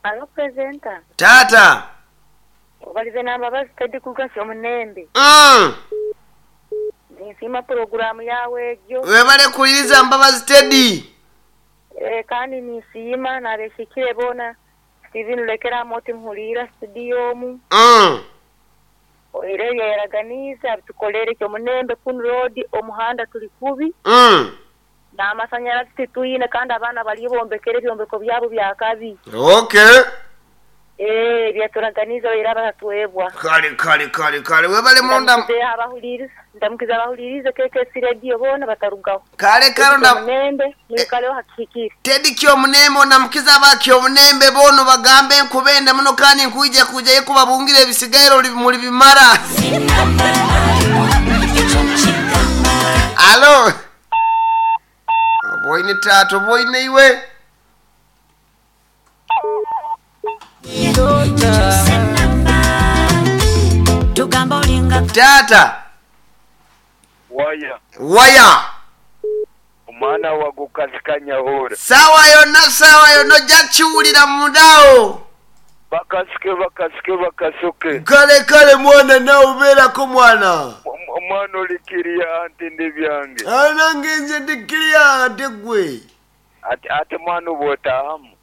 Alo presenter. Taata. Obalize na Mbabazi Teddy kuruga Kyomunembe. Ninsiima puroguraamu yaawe egyo. Webale kuwuliriza Mbabazi Teddy. Kandi ninsiima n'abeshikire boona. Steven Lulekera Amooti nhuliira studio omu. Oihireho ebyayaraganiize abitukoleire Kyomunembe kunu road omuhanda tuli kubi. N'amasanyarazi titwine kandi abaana bariyo bombekere ebyombeko byabo bya kabi. Okay. Eeh ebyaturaganiize baire abatatwebwa. Kale kale kale kale webale muno nda. Ndamukize abahuriirize ndamukize abahuriirize KKC Radio boona batarugaho. Kale kale Teddy onda. Kyomunembe mwikaleho hakihikire. Teddy Kyomunembe ondamukize aba Kyomunembe boona obagambe nkubenda muno kandi nkwija kwijayo kubabungira ebisigaire ori muribimara. Alo. Oboine taata oboine iwe. Taata. Waya. Waya. Omwana wa gukasika nyahura. Saawa yonna saawa yonna ojja kiwulira munda awo. Bakasike bakasike bakasuke. Kale kale mwana nawe beerako mwana. Omwana oli kiriya anti ndi byange. Nange nze ndi kiriya ate gwe. Ati ate mwana obwotahamu.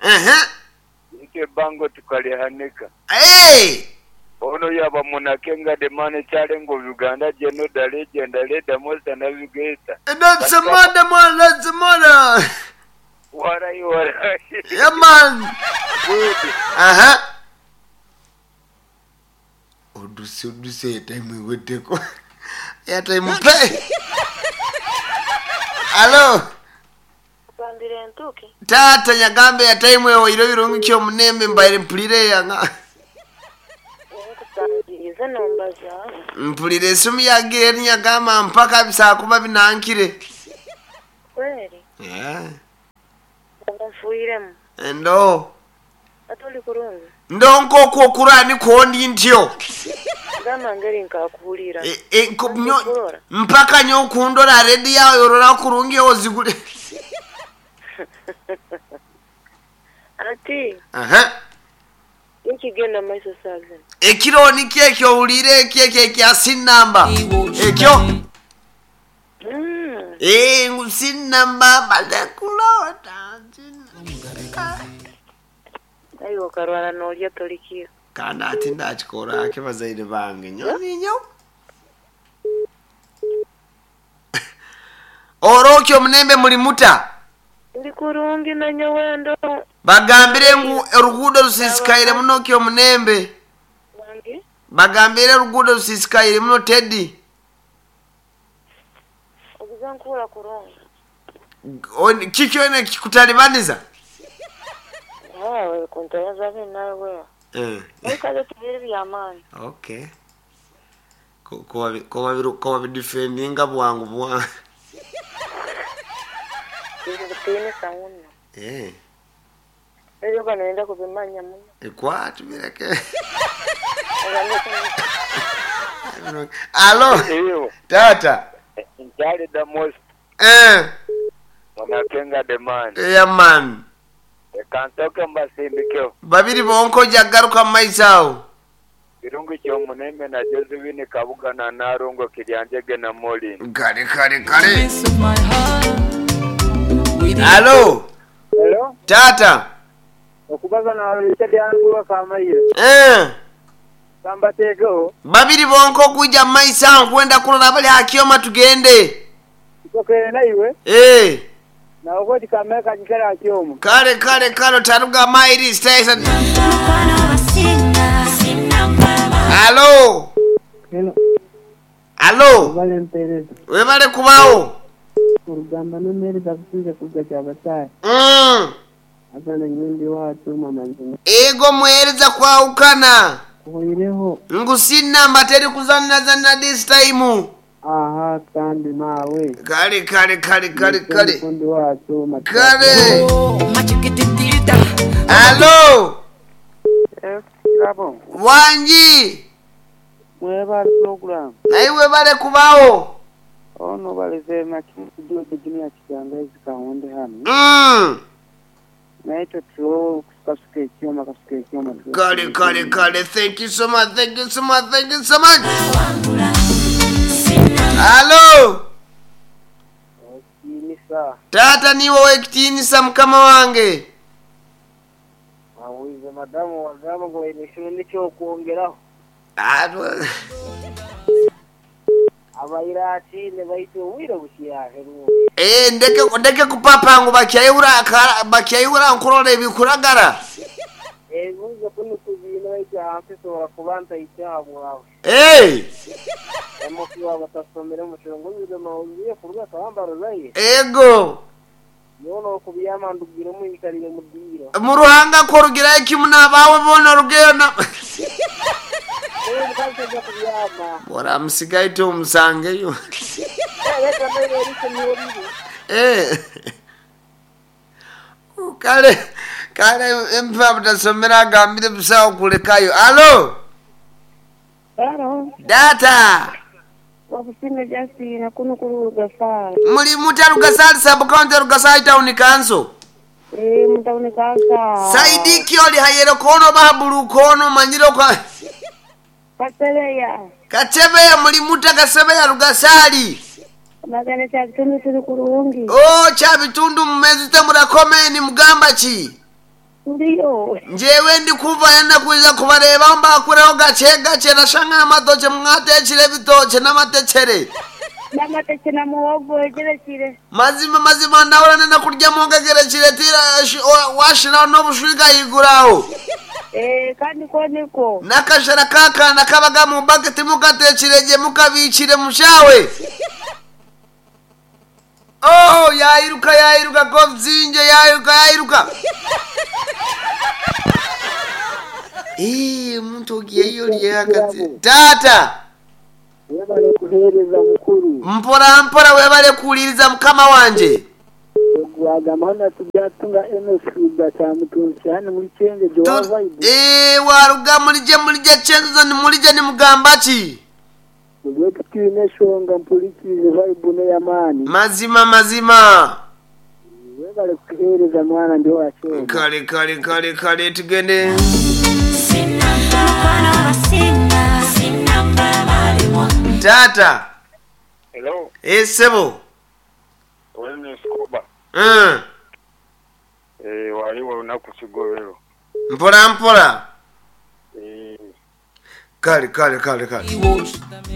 Itwe ebango tukalihanika. Ono yaba munakenga the man kyarenga Uganda geno da legend leda most navigator. That's a mother man, that's a mother. Warai warai. Yeah man. Good. Aha. Oduse oduse airtime eweddeko. Airtime pe. Alo. Kugambira entuuki. Taata nyagambe airtime ewaire birungi ki omunembe mbaire mpulire yanga. Nkusangirize nombaza. Mpulire esimu yange eri nyagamba mpaka bisakuba binankire. Kweri. Yeah. Oba nfuiremu. Endo. Ate oli kurungi. Ndo nk'okwo okurani kwondi ntyo. Gamba ngeri nkakuhurira. E, e, nko- nyo- mpaka nyo okundora redi yawe orora kurungi ozigule. Ati Aha. nikigenda maiso saa zino. Ekiro nikyo ekyo owulire ekyo ekyo ekya sinnamba ekyo. Eh, ngu sinnamba bazekulota Aye okarwara norya torikiira. Kandi ati ndakikora ake bazaire bange nyo ninyo. Orokyo omunembe muri muta. Ndi kurungi na nyawendo. Bagambire ngu oruguudo rusisikaire muno kyo omunembe. Wange. Bagambire oruguudo rusisikaire muno Teddy. Oguza nkuhura kurungi. Kiki wena kikutalibaniza? Wewe kuntoyaza nawe. Eh. Kaze tubiri by'amaani. Okay. Ko babidefendinga bwangu bwangu. Bitiinisa muno. Eh. Ebyo bano kubimanya muno. Ekwati bireke. Alo. Iyo. Tata. Nkyali the most. Eh. Munakenga the man. Yeah man. Kantoke mbasindikeho. Babiri bonko jagaruka mu maiso awo. Kirungi kyomunembe na Josephine Kabuga na Narongo Kiryanjege na Molin. Kale kale kale. Alo. Hello? Tata. Okubaza na Richard Anguwa Kamaire. Eh. Kambateekeho. Babiri bonko okuija mu maiso awo nkwenda kulola bali hakyoma tugende. Nsokere naiwe. Eh. Nawe koti kamere kagikera hakyoma. Kale kale kale otaruga mairi station. Alo. Hello. Alo. Webale mpereza. Webale kubawo. Orugamba n'emmeereza kusinze kuruga Kyabasaaya. Abaana nyowe ndi waatu mama nzima. Ego muhereza kwawukana. Kuhoireho. Ngu sinamba teri kuzanazana this time. Aha kandi maawe. Kale kale kale kale kale. Ndi waatu Kale. Alo. Kirabo. Wangi. Mwebale program. Naye webale kubawo. Ono baleze makido junior kiganga ezikawonde hano. Naitwe tuwo kasuka ekyoma kasuka ekyoma. Kale kale kale, thank you so much, thank you so much, thank you so much. Halo. Okinisa. Tata niwe wekitiinisa mukama wange. Awize madamu wagamba ngu baine ekiro nikyokwongeraho. Abaire atiine baitu obwire bukyaheruka. Eh, ndeke kupapa ngu bakyayihura nkurora ebikuragara. Ebibuuzo kunu tubiine baitu ahansi nsobola kuba ntaikyaha bwawe. Eh. Amukuba batasomere omu kirungu noziye kuruga akabamba ruzaire. Ego. Yoona okubyama ndugiremu nyikarire mu ddiiro. Mu ruhanga korugirayo kimu n'abaawe boona orugeyo na Omukazi tajja kubyama. Bora musigaye tumusangeyo. Leka naire eriiso niho riri. Eh. Kale kale empa butasomera agambire busawo kulekayo. Alo. Halo. Data. Wakusime Justin kuno kuli Rugasali. Muli muta Rugasali sub county Rugasali town council. Eh, mutawuni kansa. Saidi kyoli hayero kono bahabulu kono manyiro kwa Kasebeya. Katebeya muli muta Kasebeya Rugasali. Magana kya bitundu tuli kurungi. Oh, kya bitundu mmezite murakomeni mugamba ki? Ndiyo. Njewe ndi kuva yenda kuiza kubareba mbakureho gache gache nashanga amatoche mwatekire ebitoche n'amatekere. N'amateke na muhogo egerekire. Mazima mazima ndahura nenda kurya muhogo egerekire tira washiraho n'obushwiga yiguraho. Eh, kandi ko niko. N'akashara kakana kabaga mu bucket mukatekire gye mukabikire mushawe. Oh, yayiruka yayiruka kovzinje yayiruka yayiruka. Eh, omuntu ogiyeyo lyakati. Tata. Webale kuheereza mukuru. Mpora mpora webale kuwuliriza mukama wanje. Gwagamba hano tubyatunga Enos kya mutunzi hano muri Kyenge gyo vibe. Eh, waruga mulije chenzo ni mulije ni mugamba ki? Ubwo twine shonga mpulikize vibe ne yamani. Mazima mazima. Webale kuheereza mwana ndio wacho. Kale kale kale kale tugende. Tata. Hello. Eh, sebo. Wene Scoba. Eh, waliwo olunaku kigobero. Mpora mpora. Eh. Kale kale kale kale.